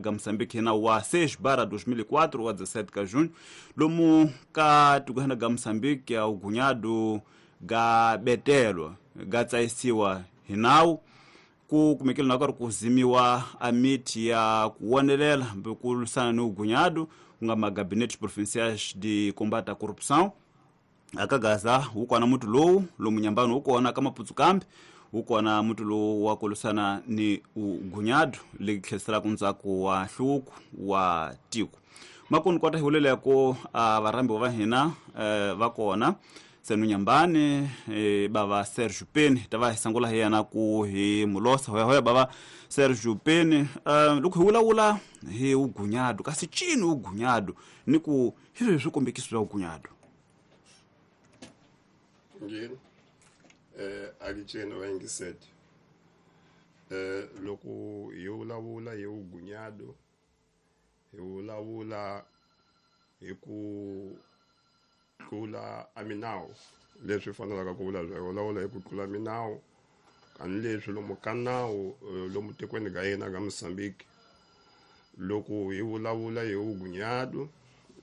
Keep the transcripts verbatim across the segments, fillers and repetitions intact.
Ga Moçambique na wa seis barra dois mil e quatro wa dezessete ka junho lomu ka tiko ga Moçambique ya ugunyado ga betelo ga tsaisiwa hinawu ku kumekele na ku kuzimiwa a miti ya kuwonelela mbe ku lwisana ni ugunyado ku nga magabinetes provinciais de combate à corrupção akagaza wukona mutu lowu lomu nyambani wukona ka Maputsu kambe wukona mutu lowu wa ku lwisana ni ugunyado li tlheriselaka ntsako wa nhluvuko wa tiko. Makuni kota hi vuleleko a varhambiwa va hina eh, va kona senu nyambani eh, bava Sergio Peni ta va hi sangula hi yena ku hi mulosa hoya hoya bava Sergio Peni. uh, loko hi vulavula hi ugunyado kasi cini ugunyado ni ku hi swihi swikombekiso swa ugunyado? Ngini eh akitsheni wayingisete eh loko hi vulavula hi ugunyado hi vulavula hi ku tlula a minawu leswi fanelaka ku vula hi vulavula hi ku tlula minawu kanileswi lomu ka nawu lomu tikweni ka hina ka Mozambique. Loko hi vulavula hi ugunyado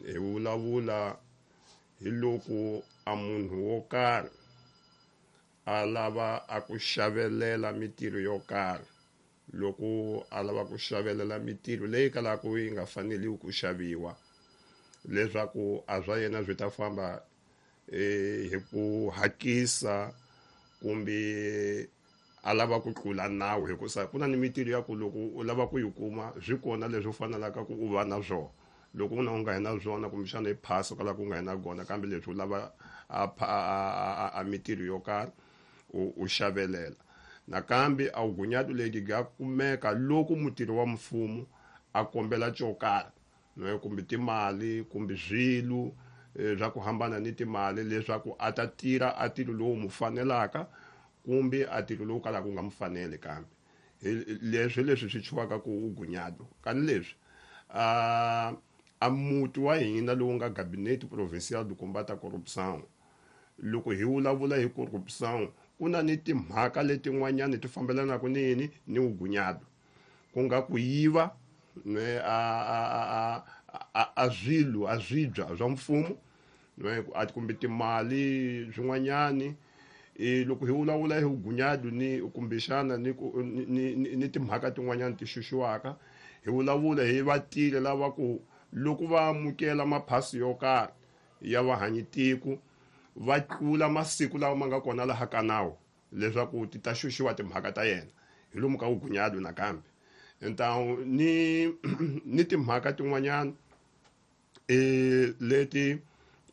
hi vulavula hi loko a munhu wo karhi a lava a ku xavelela mitirho yo karhi, loko a lava ku xavelela mitirho leyi kalaka yi nga faneliwi ku xaviwa leswaku a swa yena swi ta famba hi ku hakisa kumbe a lava ku tlula nawu, hikusa ku na ni mitirho ya ku loko u lava ku yi kuma swi kona leswi u fanelaka ku u va na swona. Loko u na u nga hi na swona kumbexana i phasa kwalaho ku nga hi na kona, kambe leswi u lava a a a mitirho yo karhi u u xavelela. Nakambe a ugunyado leti ga kumeka loko mutirhi wa mfumo a kombela xo karhi kumbe timali kumbe swilo swa ku hambana ni timali leswaku a ta tirha a ntirho lowu mu fanelaka kumbe a ntirho lowu kalaka wu nga mu faneli. Kambe leswi leswi swi chuwaka ku ugunyado kani leswi a a muti wa hina lowu nga Gabinete Provincial de Combate à Corrupção, loko hi vulavula hi corrupção ku na ni timhaka letin'wanyani ti fambelanaka ni yini ni ugunyado, ku nga ku yiva a a a a swilo a swibya swa mfumo kumbe timali swin'wanyani. Loko hi vulavula hi ugunyado ni kumbexana ni ni ni timhaka tin'wanyani ti xuxiwaka, hi vulavula hi vatile lava ku loko va amukela maphasi yo karhi ya vahanyitiko va tlula masiku lawa ma nga kona laha ka nawu leswaku ti ta xuxiwa timhaka ta yena hi lomu ka ugunyado. Nakambe ntawu ni ni timhaka tin'wanyana eh leti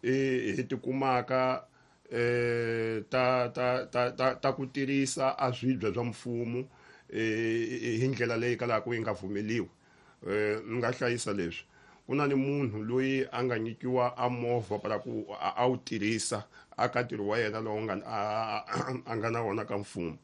hi ti kumaka eh ta ta ta ta ta ku tirhisa a swibya swa mfumo eh hi ndlela leyi kalaka yi nga vumeliwi. Eh ni nga hlayisa leswi ku na ni munhu loyi a nga nyikiwa a movha para ku a wu tirhisa aka ntirho wa yena lowu nga a nga na wona ka mfumo,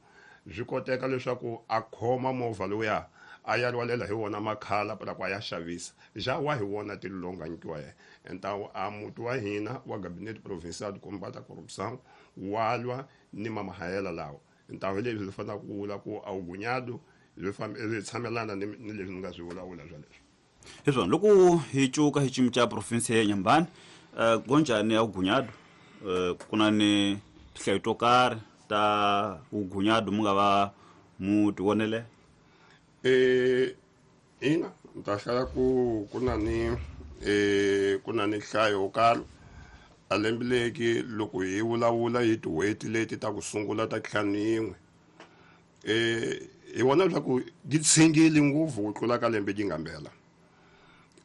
swi koteka leswaku a khoma movha lowuya a ya rhwalela hi wona makhala para ku a ya xavisa ja wa hi wona ntirho lowu nga nyikiwa yena. Ntawu a muti wa hina wa Gabinete Provincial de Combate à Corrupção wa lwa ni mamahayela lawa. Ntawu hi leswi fanelaka ku vula ku a ugunyado swi tshamelana ni leswi ni nga swi vulavula swoleswo. Hi swona loko hi cuka hi xiyimo xa province ya Nyambani uh, gonjani ya ugunyado uh, ku na ni tinhlayo to karhi ta ugunyado mu nga va mu ti vonele? Eh ina ni ta hlaya ku ku na ni eh ku na ni nhlayo yo karhi a lembe leki loko hi vulavula hi tin'hweti leti ta ku sungula ta ntlhanu yin'we eh hi vona leswaku yi tshingile ngopfu ku tlula ka lembe yi nga mbela.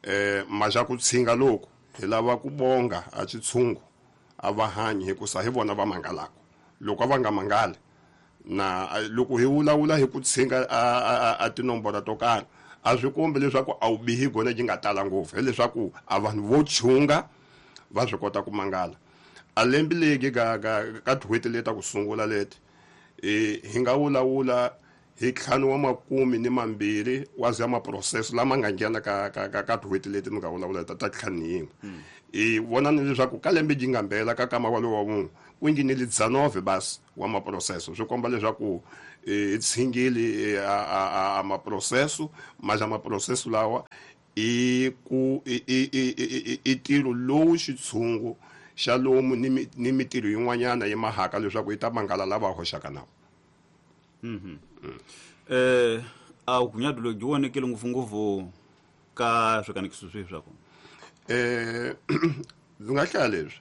Eh maxa ku tshinga loko hi lava ku bonga a xitshungu a va hanyi hikusa hi vona va mangalaka loko a va nga mangali na loko hi vulavula hi ku tshinga a a tinomboro to karhi a swi kombi leswaku a wu bihi gona yi nga tala ngopfu, hileswaku a vanhu vo chunga va swi kota ku mangala. A lembe leki ka ka ka tin'hweti leti ta ku sungula leti eh hi nga vulavula hi ntlhanu wa makume ni mambirhi wa za maproseso lama nga nghena ka ka ka ka tin'hweti leti ni nga vulavula ta ta ntlhanu yin'we. Hi vona ni leswaku ka lembe yi nga mbela ka kama walowu wa vun'we ku nghenile dzanove basi wa maproseso, swi komba leswaku hi tshingile a a maprocesso mas a maprocesso lawa i ku i i i ntirho lowu xitshungu xa lomu ni ni mitirho yin'wanyana yi mahaka leswaku yi ta mangala lava hoxaka nawu. Mhm. Eh a vugunyadu lebyi vonekile ngopfungopfu ka swikanekiso swihi swa kona? Eh ndzi nga hlaya leswi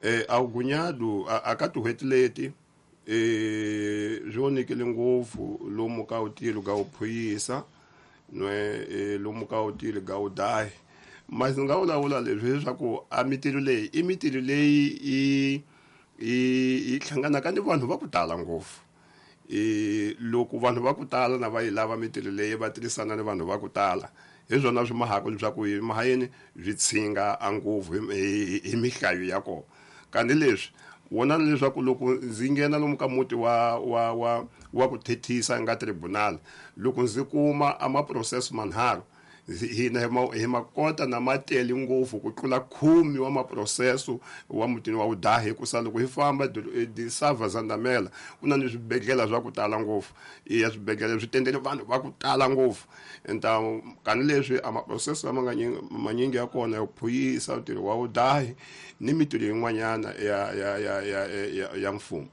eh a vugunyadu a ka tin'hweti leti eh byi vonekile ngopfu lomu ka vutilo ka vuphuyisa nwe lomu ka vutilo ka vudahi. Mas ndzi nga vulavula leswi leswaku a mitirho leyi i mitirho leyi i i hlanganaka ni vanhu va ku tala ngopfu. E loko vanhu va ku tala na va yi lava mitirho leyi va tirhisana ni vanhu va ku tala hi swona swi mahaka leswaku hi mahayeni byi tshinga a ngopfu hi mihlayo ya kona. Kanti leswi vonani leswaku loko ndzi nghena lomu ka muti wa wa wa wa ku thethisa nga tribunal loko ndzi kuma a maprocesso manharhu hina hi makota na matele ngopfu ku tlula khume wa maprocesso wa mutini wa vudahi hikusa loko hi famba disava Zandamela ku na ni swibedhlele swa ku tala ngopfu ya swibedhlele swi tendele vanhu va ku tala ngopfu enta kani leswi a maprocesso lama nga manyingi ya kona ya phuyisa ntirho wa vudahi ni mitirho yin'wanyana ya ya ya ya ya mfumo.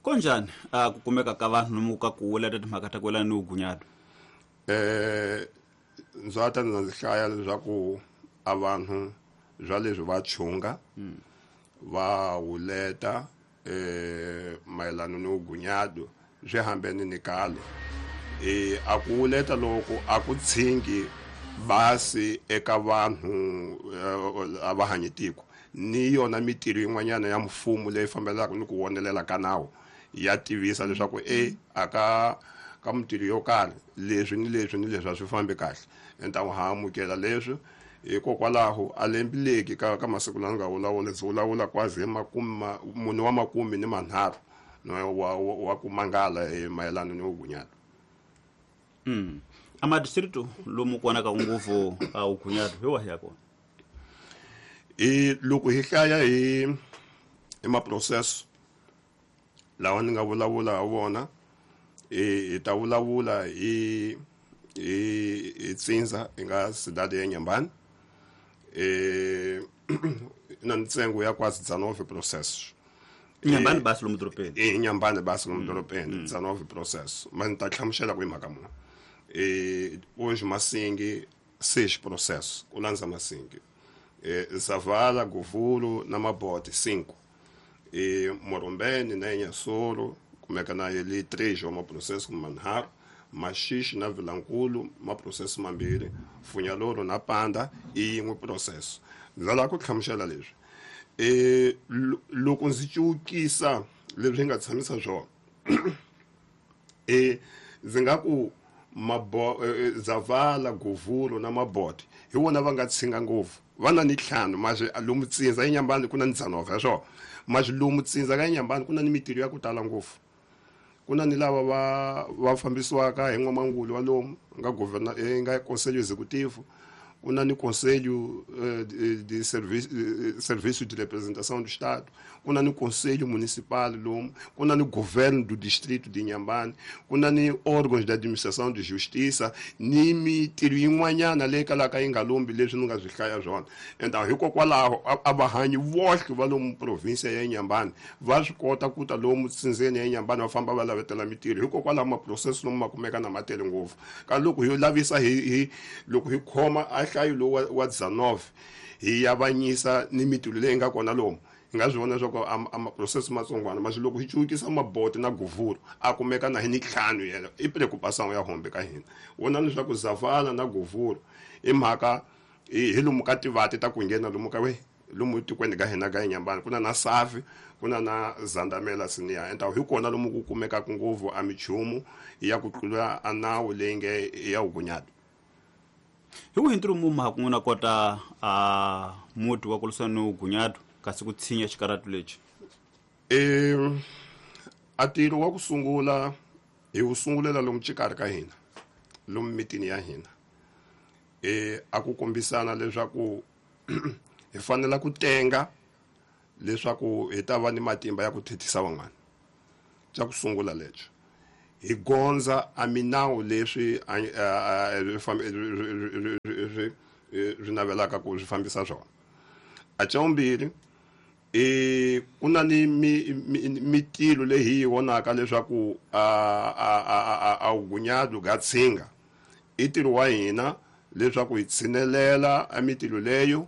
Konjani a ku kumeka ka vanhu lomu ka ku wela timhaka ta ku yelana ni vugunyadu? Eh ndzi ta ndzi hlaya leswaku a vanhu bya leswi va chunga va wuleta eh mayelana ni vugunyadu swi hambene ni kale. Eh a ku wuleta loko a ku tshingi basi eka vanhu a va hanyi tiko ni yona mitirho yin'wanyana ya mfumo leyi fambelaka ni ku vonelela ka nawu ya tivisa leswaku e aka ka mitirho yo karhi leswi ni leswi ni leswi a swi fambi kahle enta ha amukela leswi hikokwalaho a lembileki ka ka masiku lawa nga vulavula ndzi vulavula kwazi hi makume mune wa makume ni manharhu wa wa ku mangala hi mayelana ni vugunyadu. Mm. A madistrito lomu ku vonaka ngopfu a vugunyadu hi wahi ya kona? I loko hi hlaya hi hi maprocesso lawa ni nga vulavula ha wona hi ta vulavula hi hi hi Tsindza hi nga cidade ya Inhambane eh na ntsengo ya quase dezenove processos. Inhambane basi lomu dorobeni. Eh Inhambane basi lomu dorobeni dezenove processos, mas ni ta hlamusela ku hi mhaka muni. Eh hoje Massingue seis processos, ku landza Massingue. Eh Zavala, Govuro na Mabote cinco. E Morombene na Inhassoro kumeka na ele três wa maprocesso manharhu, Maxixe na Vilankulu maprocesso mambirhi, Funhalouro na Panda i yin'we processo. Ndzi lava ku hlamusela leswi eh loko ndzi cukisa leswi nga tshamisa swona eh ndzi nga ku mabo Zavala, Govuro na Mabote hi vona va nga tshinga ngopfu va na ni ntlhanu mas lomu Tsindza eNyambani ku na ni dezenove swo mas lomu Tsindza ka eNyambani ku na ni mitirho ya ku tala ngopfu. Ku na ni lava va va fambisiwaka hi n'wamangulu wa lomu nga governor nga conselho executivo, ku na ni conselho de serviço serviço de representação do estado, ku na ni conselho municipal lomu, ku na ni governo do distrito de Inhambane, ku na ni órgãos de administração de justiça ni mitirho yin'wanyana leyi kalaka yi nga lombi leswi ni nga swi hlaya swona. Enta hikokwalaho a va hanyi vohle va lomu provinsia ya Inhambane va swi kota ku ta lomu tsindzeni ya Inhambane va famba va lavetela mitirho hikokwalaho maprocesso lomu ma kumeka na matele ngopfu. Ka loko hi lavisa hi hi loko hi khoma a nhlayo lowu wa dezenove hi yavanyisa ni mitirho leyi nga kona lomu hi nga swi vona leswaku a maprocesso matsongwana mas loko hi cukisa Mabote na Govuro a kumeka na hi ni ntlhanu yena i preocupação ya hombe ka hina. Vona leswaku Zavala na Govuro i mhaka hi lomu ka tivati ta ku nghena lomu ka we lomu tikweni ka hina ka Inhambane ku na na Savi ku na na Zandamela Sinia enta hi kona lomu ku kumekaka ngopfu a michumu ya ku tlula a nawu leyi nge ya vugunyadu. Hi wihi ntirho mu ha kun'wana kota a muti wa ku lwisana ni vugunyadu kasi ku tshinya xikaratu lexi? Eh a ntirho wa ku sungula hi wu sungulela lomu xikarhi ka hina lomu mitini ya hina eh a ku kombisana leswaku hi fanela ku tenga leswaku hi ta va ni matimba ya ku thethisa van'wana. Xa ku sungula lexo hi gondza a minawu leswi swi navelaka ku swi fambisa swona. A xa vumbirhi e ku na ni mitilo leyi hi yi vonaka leswaku a a a a wugunyadu ga tshinga i ntirho wa hina leswaku hi tshinelela a mitilo leyo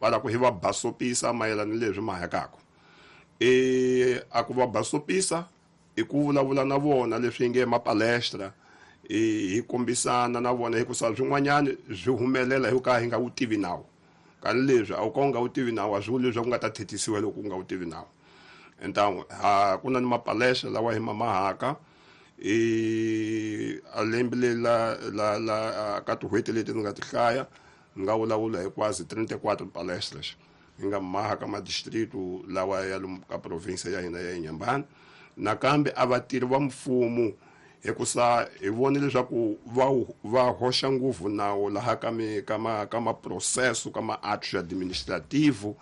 va ku hi va basopisa mayelana ni leswi mahekaka. E a ku va basopisa i ku vulavula na vona leswi nge mapalestra hi kombisana na vona hikusa swin'wanyana swi humelela hi ka hi nga wu tivi nawu. Kani leswi a wu ka u nga wu tivi nawu a swi vuli leswaku u nga ta thethisiwa loko u nga wu tivi nawu. Então ha ku na ni mapalestra lawa hi ma mahaka e a lembe la la la ka tin'hweti leti ni nga ti hlaya ni nga vulavula hi quase trinta e quatro palestras hi nga maha ka madistrito lawa ya lomu ka province ya hina ya Inhambane. Nakambe a vatirhi va mfumo hikusa hi vone leswaku va va hoxa ngopfu nawu laha ka mi ka ma ka ma processo ka ma atos administrativo.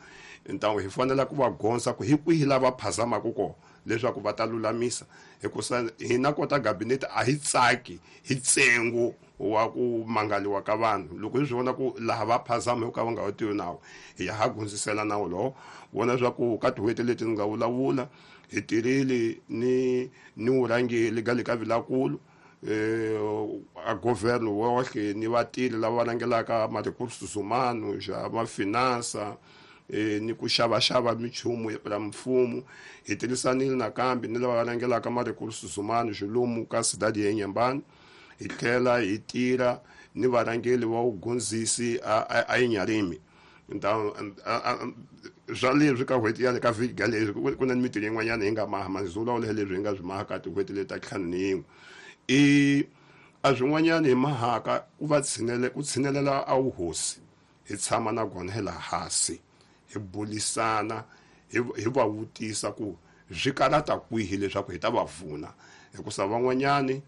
Então hi fanele ku va gondza ku hi kwihi lava phazamaka kona leswaku va ta lulamisa hikusa hina kota gabinete a hi tsaki hi ntsengo wa ku mangaliwa ka vanhu loko hi swi vona ku laha va phazama hi ka va nga wu tivi nawu hi ya ha gundzisela nawu lowo. Vona leswaku ka tin'hweti leti ni nga vulavula hi tirhile ni ni vurhangeri ga le ka Vilakulu eh a governo wohle ni vatirhi lava rhangelaka ma recursos humanos ma finança eh ni ku xavaxava minchumu ya mfumo. Hi tirhisanile nakambe ni lava rhangelaka ma recursos humanos lomu ka cidade ya Inhambane. Hi tlhela hi tirha ni varhangeri va vugundzisi a a Inharime. Então swa leswi ka n'hweti ya le ka vhiki ga leswi ku na ni mintirho yin'wanyana hi nga maha ndzi vulavula hi leswi hi nga swi maha ka tin'hweti leti ta ntlhanu ni yin'we. I a swin'wanyana hi mahaka ku va tshinele ku tshinelela a wuhosi hi tshama na kona hi laha hansi hi bulisana hi hi va vutisa ku swi karata kwihi leswaku hi ta va pfuna hikusa van'wanyani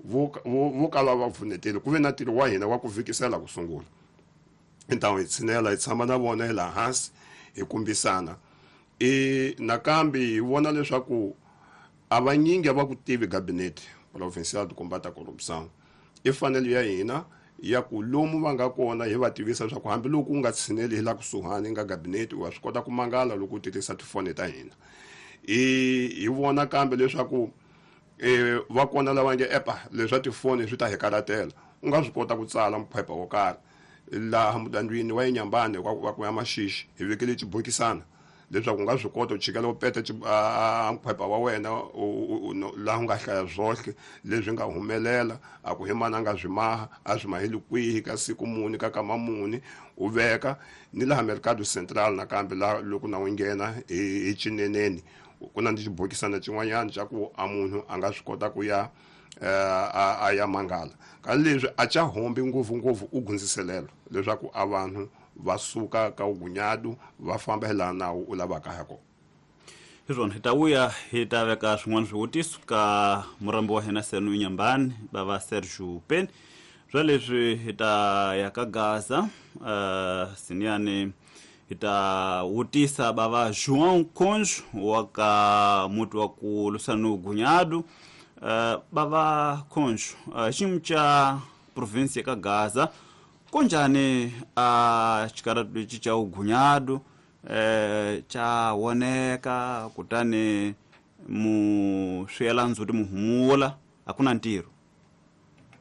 vo vo kala va pfunetile ku ve na ntirho wa hina wa ku vhikisela ku sungula. Então hi tshinela hi tshama na vona hi laha hansi hi kombisana. E nakambe hi vona leswaku a vanyingi a va ku tivi gabinete provincial de combate à corrupção. I fanele ya hina ya ku lomu va nga kona hi va tivisa leswaku hambiloko u nga tshineli hi la kusuhani nga gabinete wa swi kota ku mangala loko u tirhisa tifoni ta hina. I hi vona kambe leswaku e va kona lava nge epa leswa tifoni swi ta hi karatela u nga swi kota ku tsala mphepha wo karhi laha mudandwini wa Inhambane wa ku ya Maxixi hi vekele xibokisana leswaku u nga swi kota ku chikela u peta mphepha wa wena laha u nga hlaya swohle leswi nga humelela a ku hi mani a nga swi maha a swi maheli kwihi ka siku muni ka kama muni u veka ni laha Mercado Central nakambe laha loko na u nghena hi Chineneni ku na ni xibokisana xin'wanyana xa ku a munhu a nga swi kota ku ya a ya mangala. Ka leswi a xa hombi ngopfungopfu u gundziselelo leswaku a vanhu va suka ka wugunyadu va famba hi laha nawu u lavaka ha kona. Hi swona hi ta vuya hi ta veka swin'wana swivutiso ka murambi wa hina Senu Inhambane bava Sergio Peni. Swa leswi hi ta ya ka Gaza uh, siniyani hi ta vutisa bava João Conjo wa ka muti wa ku lwisana ni wugunyadu. Uh, bava Conjo uh, xiyimo xa province ka Gaza kunjani a uh, xikaratu lexi xa wugunyadu eh xa voneka kutani mu swi yela ndzhuti mu humula a ku na ntirho.